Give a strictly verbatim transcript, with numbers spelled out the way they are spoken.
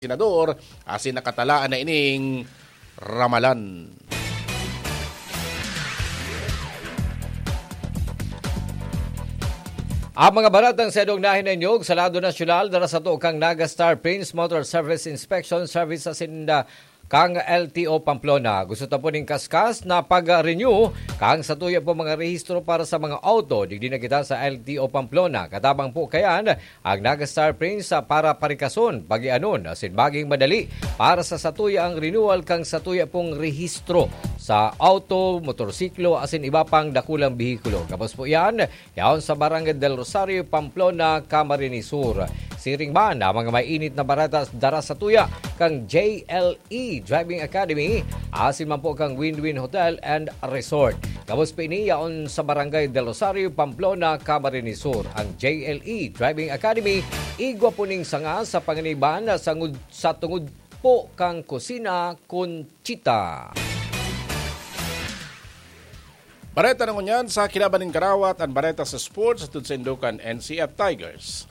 senador asin nakatalaan na ining ramalan. Ang mga baratang sedong nahinanyog sa lado nasyonal, dara sato kang Naga Star Prince Motor Service Inspection Service asin, ah, kang L T O Pamplona. Gusto ta po ning kaskas na pag-renew kang satuya po mga rehistro para sa mga auto. Digdi na kita sa L T O Pamplona. Katabang po kayan, ang Naga Star Prince, ah, para parikason, pagianon, asin maging madali para sa satuya ang renewal kang satuya pong rehistro sa auto, motorsiklo, asin iba pang dakulang behikulo. Gabos po yan, yaon sa Barangay del Rosario, Pamplona, Camarines Sur. Siring man ang mga mainit na bareta dara satuya kang J L E Driving Academy, asin man po kang Win-Win Hotel and Resort. Gabos pa ini yaon sa Barangay del Rosario, Pamplona, Camarines Sur. Ang J L E Driving Academy, igwa po ning sanga sa panganiban na sangud, sa tungod po kang Kusina Conchita. Bareta na ngunyan sa Kinaban nin Karawat, an bareta sa sports, hatod saindo kan N C F Tigers.